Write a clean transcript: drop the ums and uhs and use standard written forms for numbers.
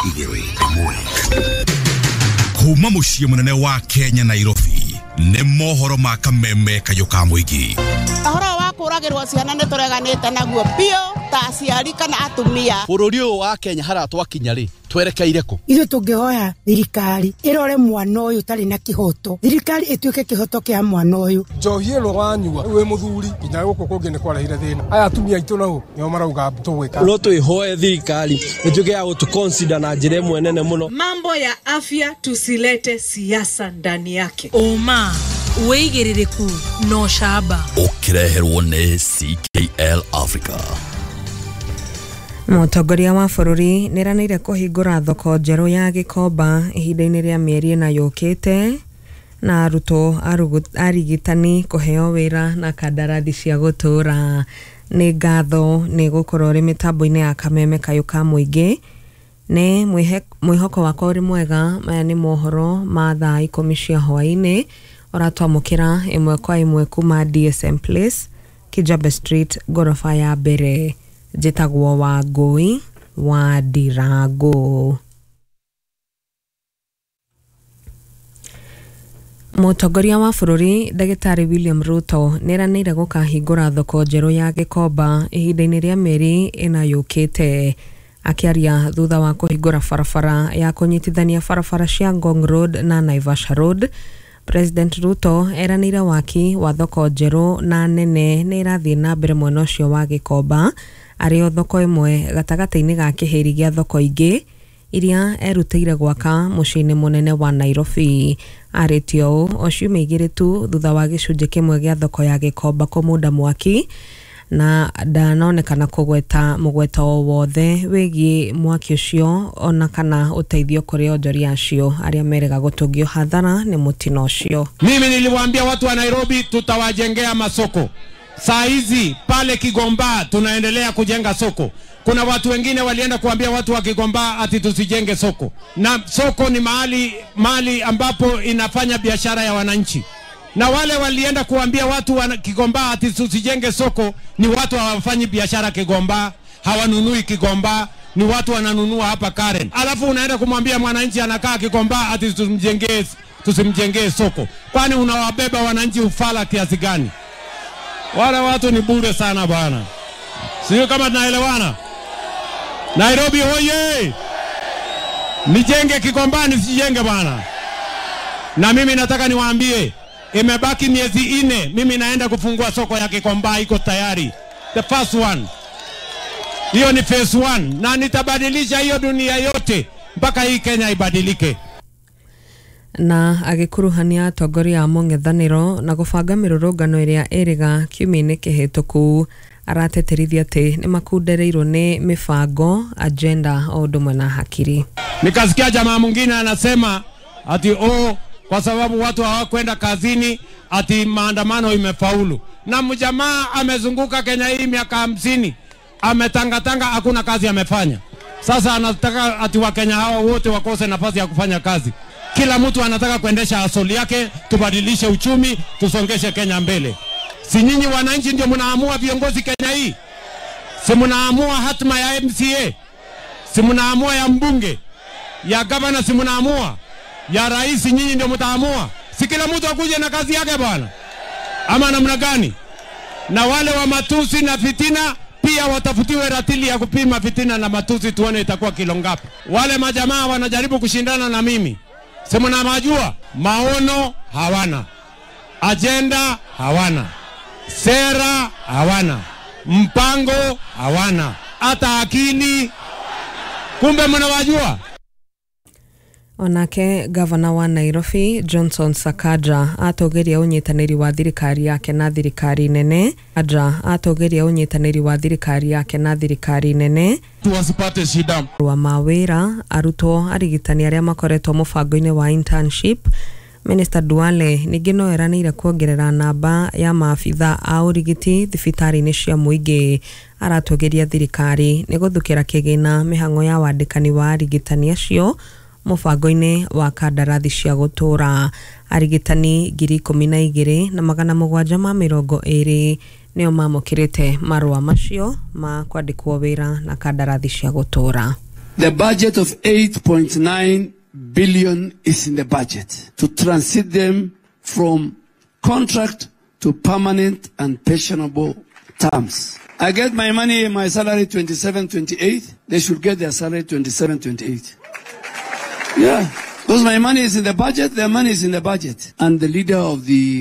Igĩrĩ ĩmwe kuma mũciĩ mũnene wa Kenya, Nairobi, nĩ mohoro ma kameme kayũ ka mũingĩ. Ũhoro wa kũragĩrwo ciana nĩ tũreganĩte naguo biũ ta aciari kana atumia. Bũrũri ũyũ wa Kenya haria twakinya rĩ, twerekeire kũ? Ithuĩ tũngĩhoya thirikari ĩrore mwana ũyũ ũtarĩ na kĩhoto, thirikari ĩtuĩke kĩhoto kĩa mwana ũyũ. Njohi ĩno wanyua wĩ mũthuri nginya gũkũ kũngĩ nĩ kwarehire thĩna. Aya atumia aitũ nao nĩo marauga tũgwĩka. No twĩhoe thirikari ĩtuĩke ya gũtũ na njĩra ĩmwe nene mũno. Mambo ya afya tusilete siasa ndani yake. Ũma, wĩigĩrĩrĩku na ũcamba. Ũkĩreherwo nĩ CKL Africa. Mũtongoria wa bũrũri nĩeranĩire kũhingũra thoko njerũ ya Gĩkomba ihinda-inĩ rĩa mĩeri ĩna yũkĩte, na arutwo arigitani kũheo wĩra na kandarathi cia gũtũũra. Nĩ ngatho nĩ gũkorwo ũrĩ mĩtambo-inĩ ya kameme kayũ ka mũingĩ. Nĩ mwĩhoko wakwa ũrĩ mwega. Maya nĩ mohoro ma thaa 10 cia hwaĩ-inĩ, ũratwamũkĩra ĩmwe kwa ĩmwe kuma DSM Place, Kijabe Street, ngoroba ya mbere. Njĩtagwo Wangũi wa Ndirango. Mũtongoria wa bũrũri Ndagĩtarĩ William Ruto nĩeranĩire gũkahingũra thoko njerũ ya Gĩkomba ihinda-inĩ rĩa mĩeri ĩna yũkĩte. Akĩaria thutha wa kũhingũra barabara ya kũnyitithania barabara cia Ngong Road na Naivasha Road, President Ruto eranĩire waki wa thoko njerũ na nene nĩ ĩrathiĩ na mbere mwena ũcio wa Gĩkomba, arĩ o thoko ĩmwe gatagatĩ-inĩ ga kĩhĩri gĩa thoko ingĩ iria erutĩire gwaka mũciĩ-inĩ mũnene wa Nairobi. Arĩtie ũũ o ciumia igĩrĩ tu thutha wa gĩcunjĩ kĩmwe gĩa thoko ya Gĩkomba kũmunda mwaki, na ndanonekana kũgweta mũgweta o wothe wĩgiĩ mwaki ũcio ona kana ũteithio kũrĩ onjoria acio arĩa merega gũtũngio hathara nĩ mũtino ũcio. Mimi niliwaambia watu wa Nairobi tutawajengea masoko. Saa hizi pale Kigomba tunaendelea kujenga soko. Kuna watu wengine walienda kuambia watu wa Kigomba ati tusijenge soko. Na soko ni mahali ambapo inafanya biashara ya wananchi. Na wale walienda kuambia watu wa Kigomba ati tusijenge soko ni watu hawafanyi biashara Kigomba, hawanunui Kigomba, ni watu wananunua hapa Karen. Alafu unaenda kumwambia mwananchi anakaa Kigomba ati tusimjengee soko. Kwani unawabeba wananchi ufala kiasi gani? Wale watu ni bure sana bwana. Sio kama tunaelewana. Nairobi hoye! Nijenge Kigomba nisijenge bwana. Na mimi nataka niwaambie, imebaki miezi 4, mimi naenda kufungua soko ya Kigomba, iko tayari. The first one. Hiyo ni phase 1, na nitabadilisha hiyo dunia yote mpaka hii Kenya ibadilike. Na agĩkuruhania atongoria a mũng'ethanĩro na gũbanga mĩrũrũngano ĩrĩa ĩrĩga kiumia-inĩ kĩhĩtũku, arateterithia atĩ nĩmakundereirwo nĩ mĩbango, agenda o ũndũ ũmwe na hakiri. Nikasikia jamaa mwingine anasema ati kwa sababu watu hawakwenda kazini ati maandamano imefaulu. Na mjamaa amezunguka Kenya hii miaka 50, ametangatanga, hakuna kazi amefanya. Sasa anataka ati Wakenya hawa wote wakose nafasi ya kufanya kazi. Kila mtu anataka kuendesha asoli yake, tubadilishe uchumi, tusongeshe Kenya mbele. Si nyinyi wananchi ndio mnaamua viongozi Kenya hii? Si mnaamua hatima ya MCA? Si mnaamua ya mbunge? Ya gavana si mnaamua? Ya rais nyinyi ndio mtaamua? Si kila mtu akuje na kazi yake bwana? Ama namna gani? Na wale wa matusi na fitina pia watafutiwe ratili ya kupima fitina na matusi, tuone itakuwa kilo ngapi. Wale majamaa wanajaribu kushindana na mimi. Si mnawajua? Maono hawana, agenda hawana, sera hawana, mpango hawana, hata akili. Kumbe mnawajua? Onake gavana wa Nairobi Johnson Sakaja atogeria ũnyitanĩri wa thirikari yake na thirikari nene. Atogeria ũnyitanĩri wa thirikari yake na thirikari nene tuwasipate shida wa mawĩra arutwo arigitani arĩa makoretwo mũbango-inĩ wa internship. Minister Duale ningĩ no eranĩire kuongerera namba ya maabitha a ũrigiti thibitarĩ-inĩ cia mũingĩ. Aratogeria thirikari nĩ gũthukĩra kĩgĩna mĩhang'o ya wandĩkani wa arigitani acio mũbango-inĩ wa kandarathi cia gũtũũra. Arigitani 12,720 nĩo mamũkĩrĩte marũa macio ma kwandĩkwo wĩra na kandarathi cia gũtũũra. The budget of 8.9 billion is in the budget to transit them from contract to permanent and pensionable terms. I get my money, my salary 27, 28. They should get their salary 27, 28. Yeah. Because my money is in the budget, their money is in the budget. And the leader of the